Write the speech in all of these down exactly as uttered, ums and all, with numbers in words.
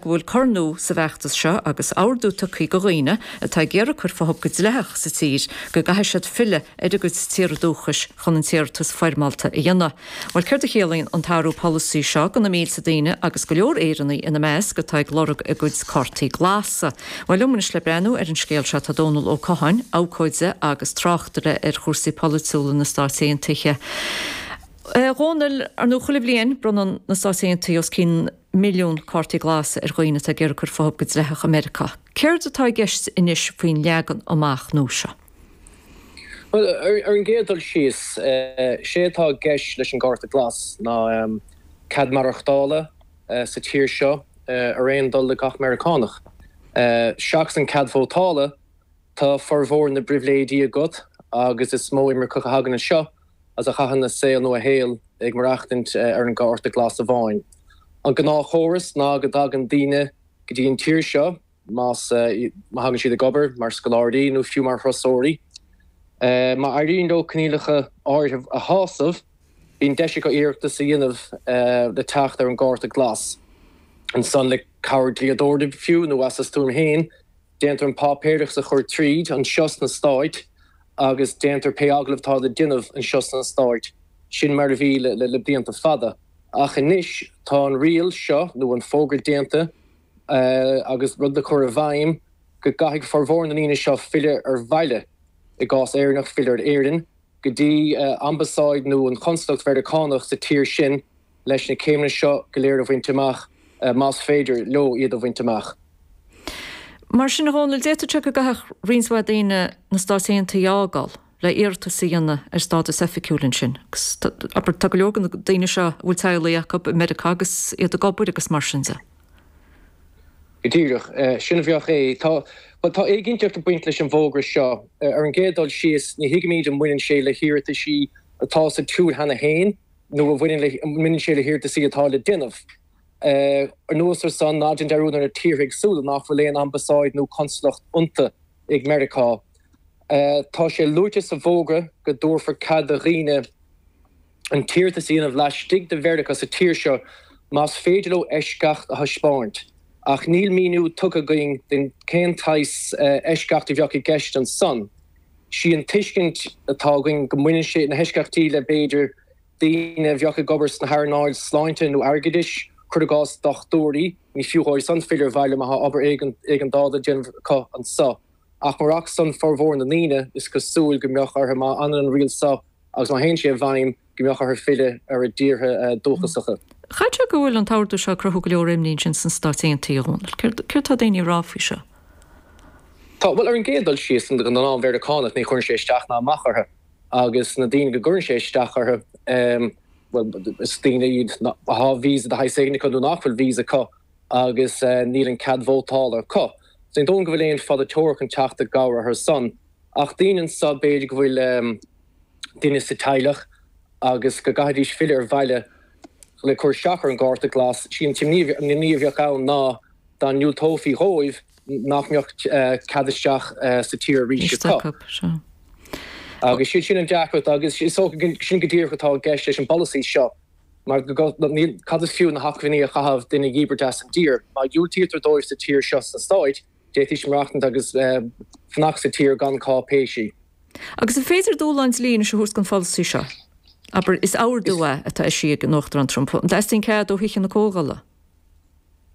Go bhfuil cor nua sa bhfeachtas seo agus ordú tugtha do dhaoine atá ag iarraidh cur fúthu go dleathach sa tír go gcaithfidh siad filleadh ar a gcuid tíortha dúchais chun an t-iarratas foirmeálta a dhéanamh. Well céard a chiallaíonn an t-athrú polasaí seo do na mílte daoine agus go leor Éireannaigh ina measc atá ag lorg a gcuid cártaí glasa. Well liom anois le breathnú ar an scéal seo tá Dónal Ó Catháin, abhcóide agus tráchtaire ar chúrsaí polaitiúla na Stáit Aontaithe. A Dhónaill, ar ndóigh chuile bhliain bronnann na Stáit Aontaithe os cionn milliún cártaí glasa ar dhaoine atá ag iarraidh cur fúthu go dleathach i Meiriceá. Céard atá i gceist anois faoin leagan amach nua seo? Well, ar an gcéad dul síos, sé atá i gceist leis an gcárta glas ná cead maireachtála sa tír seo ar aon dul le gach Meiriceánach. Seachas an cead vótála, tá formhór na bpribhléidí agat agus is mó imirceach a thagann anseo as a chaitheann a saol nó a shaol ag maireachtaint ar an gcárta glas amháin. An gnáthchóras ná go dtagann daoine go dtí an tír seo más má thagann siad ag obair mar scoláirí nó fiú mar thurasóirí. Má éiríonn leo coinníollacha áirithe a shásamh, bíonn deis acu iarratas a dhéanamh le teacht ar an gcárta glas. Ansan le cabhair dlíodóra fiú nó as a stuaim féin, déantar an páipéarachas a chur tríd anseo sna Stáit agus déantar pé agallamh atá le déanamh anseo sna Stáit. Sin mar a bhí le le blianta fada. Ach anois tá an riail seo nó an fógra déanta agus rud le cur i bhfeidhm go gcaithfidh formhór na ndaoine seo filleadh ar bhaile, i gcás Éireannach filleadh ar Éirinn, go dtí ambasáid nó an chonsalacht Mheiriceánach sa tír sin leis na céimeanna seo go léir a bhaint amach, más féidir leo iad a bhaint amach. Mar sin, a Dhónaill, d'fhéadfadh sé go gcaithfeadh roinnt mhaith daoine na Stáit Aontaithe a fhágáil le iarratas a dhéanamh ar stádas oifigiúil ansin. Agus abair, tá go leor de na daoine seo a bhfuil teaghlaigh acu i Meiriceá agus iad ag obair agus mar sin de. Go díreach, sin a bheadh é. Tá, bhuel, tá éiginnteacht ag baint leis an bhfógra seo. Ar an gcéad dul síos, ní thuigimid an mbaineann sé le hiarrataisí atá sa tsiúl cheana féin nó an bhaineann le, an mbaineann sé le hiarrataisí atá le déanamh. Anuas ar san, ná déan dearúd ar na tíortha éagsúla nach bhfuil aon ambasáid nó consalacht iontu ag Meiriceá. Tá sé luaite sa bhfógra go dtabharfar cead do dhaoine an t-iarratas a dhéanamh laistigh de Mheiriceá sa tír seo más féidir leo eisceacht a thaispeáint, ach níl míniú tugtha againn den cén tsaghas eisceacht a bheadh i gceist ansan. Sí an tuiscint atá againn go mbaineann sé na heisceachtaí le b'fhéidir daoine a bheadh ag obair sna hearnáil sláinte nó airgeadais, cuir i gcás dochtúirí, ní fiú dhóibh san filleadh ar bhaile má tá obair éigeandála le déanamh acu anso. Ach murach san formhór na ndaoine, is cosúil go mbeadh orthu, má fhanann an riail so agus má théann sé i bhfeidhm, go mbeadh orthu filleadh ar a dtíortha dúchasacha. Chaithfeadh sé go bhfuil an t-ordú seo ag cruthú go leor imní ansin sna Stáit Aontaithe, a Dhónaill. Céard atá daoine a rá faoi seo? Tá, bhuel, ar an gcéad dul síos, don ghnáth-Mheiriceánach ní chuireann sé isteach ná amach orthu. Agus na daoine go gcuireann sé isteach orthu, bhuel, is daoine iad atá visa de shaghas éigin acu nó nach bhfuil visa acu agus níl an cead vótála acu. So ní dóigh liom go bhfuil aon pholaiteoir chun teacht i gcabhair orthu san. Ach daoine anso, b'fhéidir go bhfuil duine sa teaghlach agus go gcaithfidís filleadh ar bhaile le cur isteach ar an gcárta glas, sí an t-imní a bheadh ann ná dá ndiúltófaí dhóibh, nach mbeadh cead isteach sa tír arís acu. Agus sin an deacracht agus is dócha sin go díreach atá i gceist leis an bpolasaí seo mar níl, cad is fiú na hacmhainní a chaitheamh duine a dhíbirt as an dtír? Má dhiúltaítear dóibh sa tír seo sna Stáit, d'fhéadfaidís maireachtaint agus fanacht sa tír gan cáipéisí. Agus an féidir dúshlán dlí anois a thabhairt don pholasaí seo? Abair, is ordú é atá eisithe ag an Uachtarán Trump. An dteastaíonn cead ó Thithe na Comhdhála?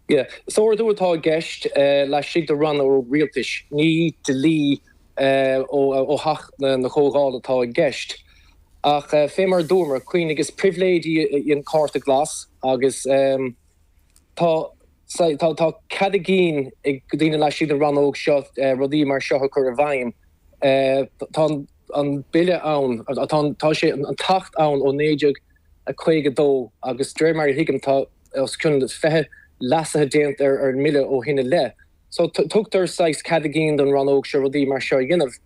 Yeah. Is ordú atá i gceist laistigh de rannóg rialtais, ní dlí ó Theach na Comhdhála atá i gceist. Ach fé mar a dúramar, cuimhnigh, is pribhléid í an cárta glas agus tá tá cead a gcinn ag daoine laistigh den rannóg seo rudaí mar seo a chur i bhfeidhm. Tá an bille ann, tá sé, an tAcht ann ó naoi déag a caoga dó agus de réir mar a thuigim tá os cionn fiche leasaithe déanta ar an mbille ó shin i leith. So tugtar saghas cead a gcinn don rannóg seo rudaí mar seo a dhéanamh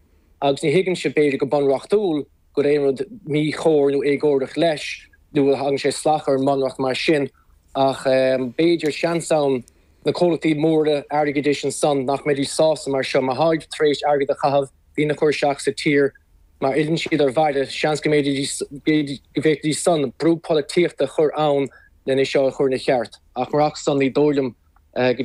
agus ní thuigimse b'fhéidir go bunreachtúil go bhfuil aon rud míchóir nó éagórach leis nó go dtagann sé salach ar an mbunreacht mar sin ach b'fhéidir seans ann na comhlachtaí móra airgeadais ansan nach mbeidís sásta mar seo má tháid tar éis airgead a chaitheamh daoine a chur isteach sa tír má fhilleann siad ar bhaile, seans go bhféadfaidís san brú polaitíochta a chur ann lena seo a chur ina cheart. Ach murach san ní dóigh liom Go